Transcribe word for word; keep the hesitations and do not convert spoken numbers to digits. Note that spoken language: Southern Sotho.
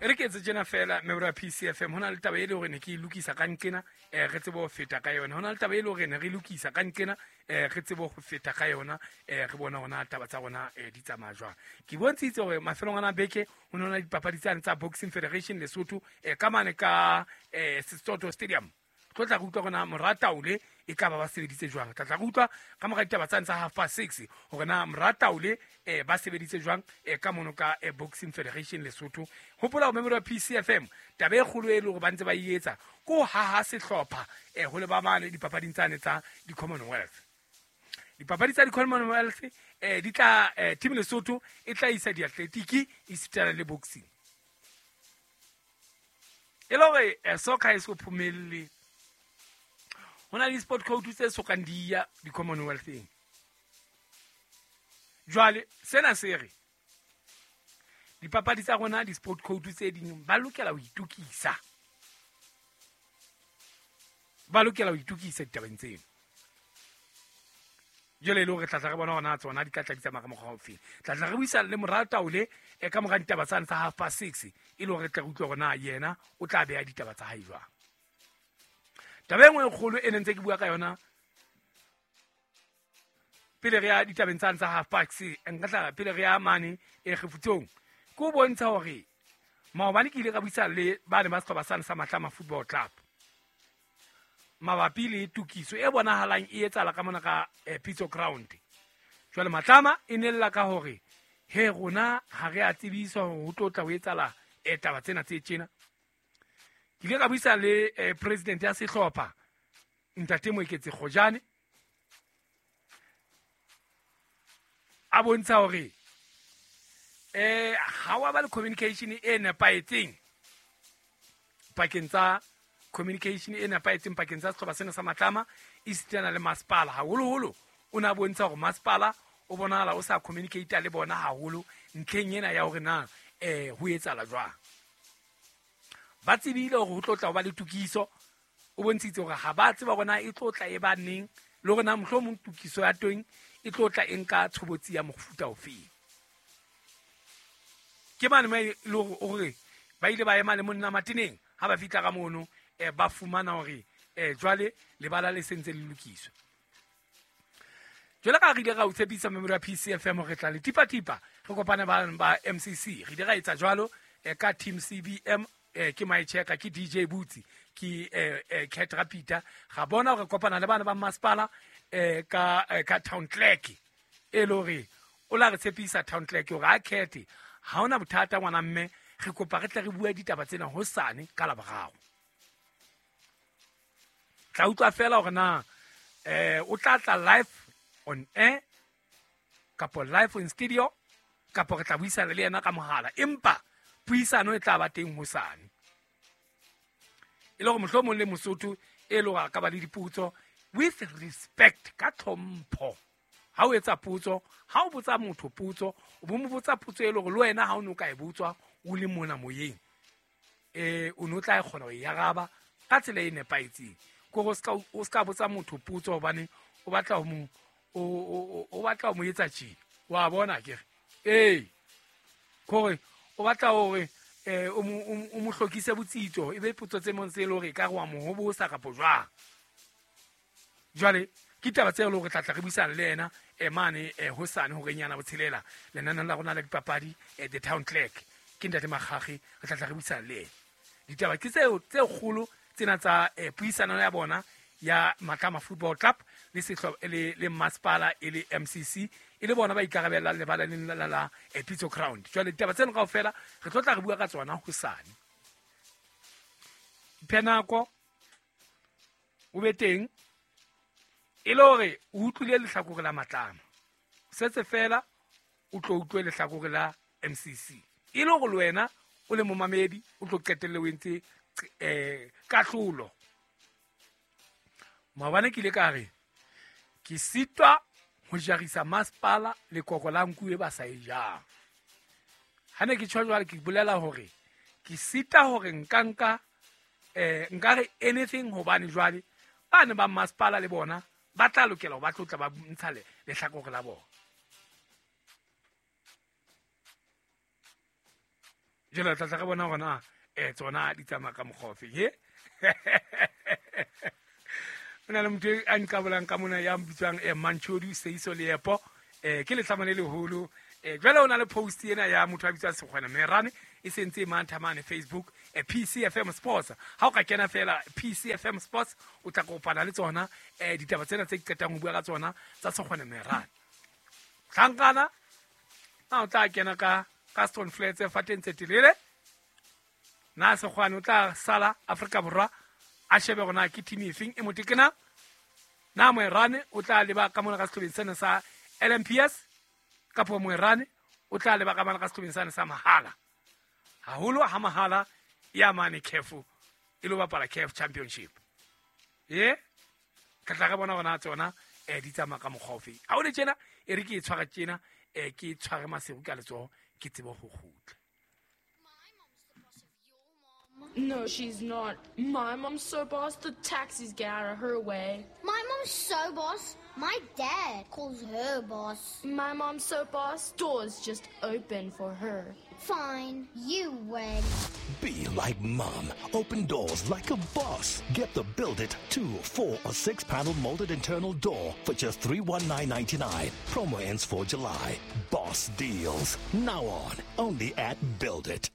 E re ke etse tjena fela member ya P C F M, hona le taba e le hore ne ke e lokisa ka nqena, eh re tsebe ho feta ka yona. Hona le taba e le hore ne re lokisa ka nqena, eh re tsebe ho feta ka yona, eh re bona hona taba tsa rona eh di tsamaya jwang. Ke bontshitse hore mafelong ana beke ho nona dipapadi tsane tsa Boxing Federation Lesotho eh ka mane ka eh Sesotho Stadium. Tlo tla re utlwa hore na Morataole e ka ba ba sebeditse jwang. Tla tla re utlwa ka mora ditaba tsane tsa half past six hore na Morataole eh ba sebeditse jwang eh ka mono ka eh, Boxing Federation Lesotho. Hopola ho member ya P C F M, taba e kgolo e le hore ba ntse ba e etsa ko haha sehlopha eh ho le ba mane dipapading tsane tsa di-Commonwealth. Dipapadi tsa di-Commonwealth eh di tla eh, team Lesotho e tla isa diatletiki e sitana le boxing. E le hore eh, soccer e so phomelle. Hona le sport code tse sokang di ya di-Commonwealth-eng. Jwale sena se re dipapadi tsa rona di-sport code tse ding ba lokela ho itokisa. Ba lokela ho itokisa ditabeng tseno. Jwale e le hore tla tla re bona hona tsona di tla tla di tsamaya ka mokgwa ofe. Tla tla re buisana le Morataole e ka mora ditaba tsane tsa half past six e le hore re tla re utlwe hore na yena o tla beha ditaba tsa hae jwang. Taba e nngwe e kgolo e ne ntse ke bua ka yona pele re ya ditabeng tsane tsa half past six, nka tla pele re ya mane e kgefutsong, ke ho bontsha hore maobane ke ile ka buisana le ba ne ba sehlopha sane sa Matlama Football Club mabapi le tokiso e bonahalang e etsahala ka mona ka eh, Pitso Ground. Jwale Matlama e nella ka hore he rona ha re a tsebiswa hore ho tlo tla ho etsahala eh, taba tsena tse tjena. Ke ile ka buisana le eh, president ya sehlopha Ntate Moeketsi Kgojane, a bontsha hore eh ha wa ba le communication e nepahetseng pakeng tsa communication e nepahetseng pakeng tsa sehlopha sena sa Matlama e sitana le masepala. Haholoholo o na bontsha hore masepala o bonahala o sa communicate le bona haholo ntlheng ena ya hore na eh ho etsahala jwang. Ba tsebile hore ho tlo tla ho ba le tokiso, o bontshitse hore ha ba tseba hore na e tlo tla e ba neng le hore na mohlomong tokiso ya teng e tlo tla e nka tshobotsi ya mofuta ofeng. Ke mane mo e le hore ba ile ba ema le monna Mateneng ha ba fihla ka mono eh ba fumana hore eh jwale lebala le sentse le lokiswa. Jwale ka re ile ra o tshepisa member ya P C F M hore re tla le tipa-tipa re kopane ba ba M C C. Re ile ra etsa jwalo eh, ka team C B M eh, ke my checker ke D J Butsi ke eh, eh, Cat Rapita. Ga bona hore kopana le bana ba masepala eh, ka eh, ka town clerk e le hore o la re tshepisa town clerk hore a khethe ha ona bothata ngwana mme re kopa re tle re bue ditaba tsena hosane ka Laboraro. Tla utlwa fela hore na eh o tla tla live on air kapo live in studio kapo re tla buisana le yena ka mohala, empa puisano e tla ba teng hosane. E le hore mohlomong le Mosotho e le hore a ka ba le dipotso with respect ka tlhompho. Ha o etsa potso, ha o botsa motho potso, o bo mo botsa potso e le hore le wena ha o no ka e botswa o le mona moyeng, eh o no tla kgona ho e araba ka tsela e nepahetseng. Ke hore o ska o ska botsa motho potso hobane o batla ho mo o o o batla ho mo etsa tjena. Wa bona ke re ee kore o batla hore eh o mo o mo hlokise botsitso, e be potso tse mong tse le hore e ka re wa mo hobosa kapo jwang. Jwale ke taba tse le hore tla tla re buisana le yena eh mane eh hosane hore nyana botshelela lenaneng la rona la dipapadi eh, the town clerk ke Ntate Makgakge, re tla tla re buisana le yena. Ditaba ke tseo tse kgolo tsena tsa eh, puisano ya bona ya Matlama Football Club le sehlopha le le masepala e le M C C e le bona ba ikarabellang lebala la la la eh, Pitso Ground. Jwale ditaba tseno kaofela re tlo tla re bua ka tsona hosane. Iphe nako o be teng e le hore o utlwile lehlakore la Matlama, setse fela o tlo utlwe lehlakore la M C C e le hore le wena o le momamedi o tlo qetelle o entse eh kahlolo. Maobane ke ile ka re ke sitwa ho jarisa masepala lekoko la nku e ba sa e jang. Ha ne ke tjho jwale ke bolela hore ke sita hore nka nka eh nka re anything hobane jwale ba ne ba masepala le bona ba tla lokela ho ba tlotla ba ntsha lehlakore la bona. Jwale tla tla re bona hore na eh tsona di tsamaya ka mokgwa ofe. He o na le motho a nqabolang ka mona ya bitswang eh Manchodi Seiso Leepo, eh ke letlama le leholo. Eh jwale o na le post ena ya motho a bitswang Sekgwena Merane e sentse mantha mane Facebook, eh P C F M Sports. Ha o ka kena fela P C F M Sports o tla kopana le tsona eh ditaba tsena tse qetang ho bua ka tsona tsa Sekgwena Merane. Hlankana na o tla kena ka ka Stone Flats fateng tse telele, na Sekgwane o tla sala Afrika Borwa a shebe hore na ke team efeng e motekena, na Moerane o tla leba ka mona ka sehlobeng sena sa L M P S kapo Moerane o tla leba ka mona ka sehlobeng sena sa Mahala. Haholo ha Mahala ya mane C A F e lo bapala C A F Championship. Ye ka tla re bona hore na tsona eh di tsamaya ka mokgwa ofe. Ha o le tjena e re ke e tshwara tjena, eh ke tshware Maseru ka letsoho ke tsebe ho kgutla. No, she's not. My mom's so boss, the taxis get out of her way. My mom's so boss, my dad calls her boss. My mom's so boss, doors just open for her. Fine, you win. Be like mom. Open doors like a boss. Get the Build It two, four, or six panel molded internal door for just three one nine ninety-nine. Promo ends for July. Boss deals. Now on. Only at Build It.